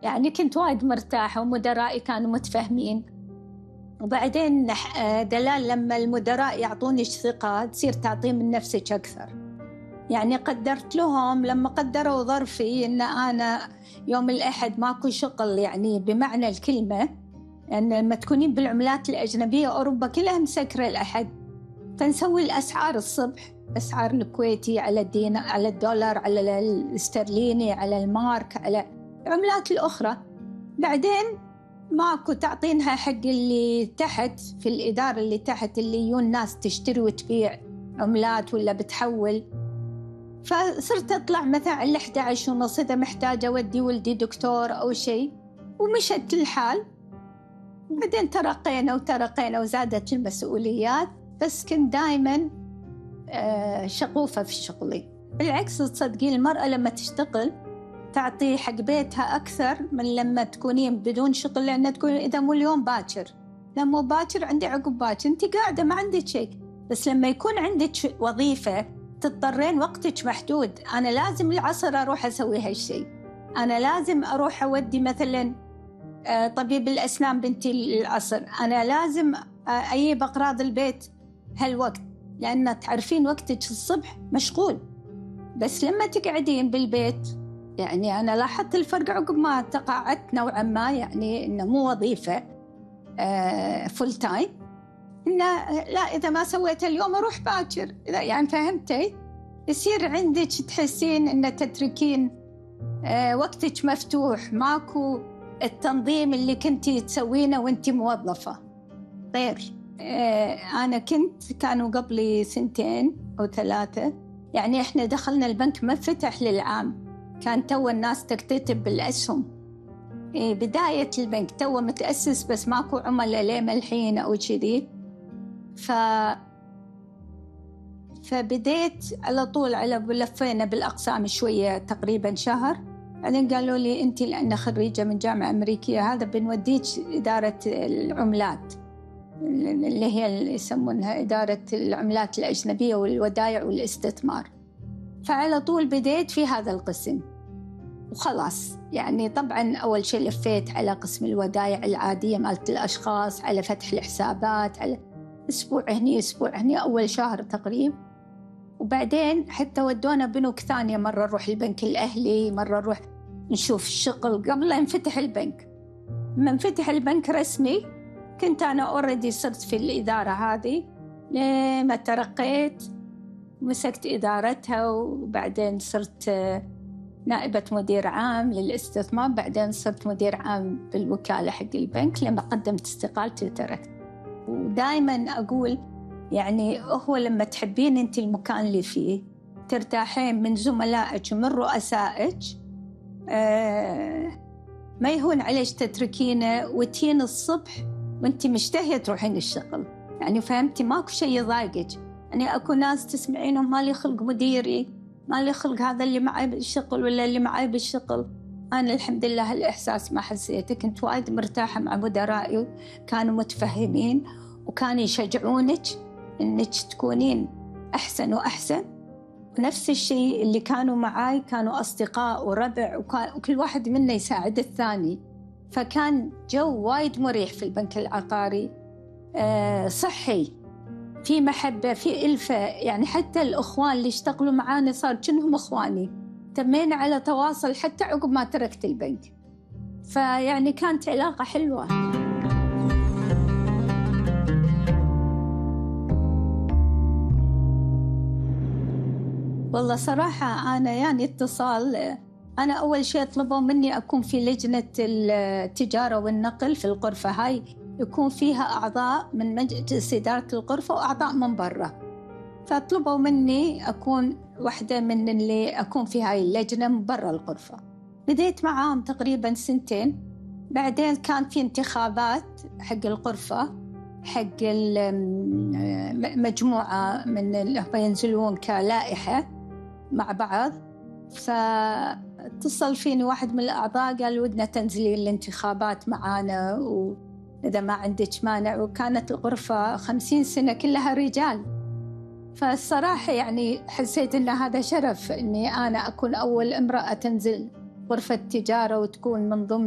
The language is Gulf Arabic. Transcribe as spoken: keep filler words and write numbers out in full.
يعني كنت وايد مرتاحة ومدرائي كانوا متفهمين. وبعدين دلال لما المدراء يعطوني ثقة تصير تعطي من نفسك أكثر. يعني قدرت لهم لما قدروا ظرفي إن أنا يوم الأحد ماكو شغل، يعني بمعنى الكلمة، أن يعني لما تكونين بالعملات الأجنبية أوروبا كلها مسكرة الأحد، فنسوي الأسعار الصبح، أسعار الكويتي على الدين على الدولار على الاسترليني على المارك على العملات الأخرى. بعدين ماكو تعطينها حق اللي تحت في الإدارة اللي تحت اللي يجون ناس تشتري وتبيع عملات ولا بتحول. فصرت أطلع مثلا على إحدى عشر ونص إذا محتاجة أودي ولدي دكتور أو شيء، ومشت الحال. بعدين ترقينا وترقينا وزادت المسؤوليات، بس كنت دايما شغوفة في شغلي. بالعكس تصدقين المرأة لما تشتغل تعطي حق بيتها أكثر من لما تكونين بدون شغل، لأن تقول إذا مو اليوم باكر، لا مو باكر عندي عقب باكر، أنت قاعدة ما عندك شيء. بس لما يكون عندك وظيفة تضطرين وقتك محدود، أنا لازم العصر أروح أسوي هالشيء، أنا لازم أروح أودي مثلا طبيب الأسنان بنتي العصر، أنا لازم أجيب أغراض البيت هالوقت، لأن تعرفين وقتك الصبح مشغول. بس لما تقعدين بالبيت، يعني أنا لاحظت الفرق عقب ما تقاعدت نوعا ما، يعني إنه مو وظيفة فول تايم، إنه لا إذا ما سويت اليوم أروح باكر، إذا يعني فهمتي، يصير عندك تحسين إن تتركين وقتك مفتوح، ماكو التنظيم اللي كنتي تسوينه وانتي موظفة. غير أنا كنت كانوا قبلي سنتين أو ثلاثة، يعني إحنا دخلنا البنك ما فتح للعام، كان تو الناس تكتتب بالأسهم، بداية البنك تو متأسس بس ماكو عملاء ليه ملحين أو كذي. ف فبديت على طول على لفينا بالأقسام شوية تقريبا شهر، بعدين قالوا لي أنت لأن خريجة من جامعة أمريكية هذا بنوديك إدارة العملات اللي هي اللي يسمونها إدارة العملات الأجنبية والودائع والاستثمار. فعلى طول بديت في هذا القسم وخلاص. يعني طبعا أول شيء لفيت على قسم الودائع العادية مالت الأشخاص، على فتح الحسابات، على أسبوع هني أسبوع هني أول شهر تقريبا. وبعدين حتى ودونا بنوك ثانية، مرة نروح البنك الأهلي، مرة نروح نشوف الشغل قبل لا ينفتح البنك. لما انفتح البنك رسمي كنت أنا أوريدي صرت في الإدارة هذه، لما ترقيت مسكت إدارتها، وبعدين صرت نائبة مدير عام للاستثمار، بعدين صرت مدير عام بالوكالة حق البنك لما قدمت استقالتي وتركت. ودائما أقول يعني هو لما تحبين أنت المكان اللي فيه ترتاحين من زملائك ومن رؤسائك، آه ما يهون عليك تتركينه وتين الصبح وانت مشتهية تروحين الشغل. يعني فهمتي ماكو شيء يضايقك. يعني أكو ناس تسمعينهم ما لي خلق مديري، ما لي خلق هذا اللي معي بالشغل ولا اللي معي بالشغل. أنا الحمد لله هالإحساس ما حسيته، كنت وايد مرتاحة مع مدرائي، كانوا متفهمين وكانوا يشجعونك إنك تكونين أحسن وأحسن. ونفس الشيء اللي كانوا معاي كانوا أصدقاء وربع، وكل واحد منا يساعد الثاني، فكان جو وايد مريح في البنك العقاري، أه صحي، في محبة، في ألفة. يعني حتى الأخوان اللي اشتغلوا معانا صار كأنهم أخواني، تمينا على تواصل حتى عقب ما تركت البنك. فيعني كانت علاقة حلوة. والله صراحة أنا يعني اتصال، أنا أول شيء طلبوا مني أكون في لجنة التجارة والنقل في الغرفة هاي، يكون فيها أعضاء من مجلس إدارة الغرفة وأعضاء من برا. فطلبوا مني أكون واحدة من اللي أكون في هاي اللجنة من برا الغرفة. بديت معاهم تقريبا سنتين، بعدين كان في انتخابات حق الغرفة، حق مجموعة من اللي ينزلون كلائحة مع بعض. فاتصل فيني واحد من الأعضاء قال ودنا تنزلي الانتخابات معانا وإذا ما عندك مانع. وكانت الغرفة خمسين سنة كلها رجال، فالصراحة يعني حسيت أن هذا شرف أني أنا أكون أول امرأة تنزل غرفة تجارة وتكون من ضمن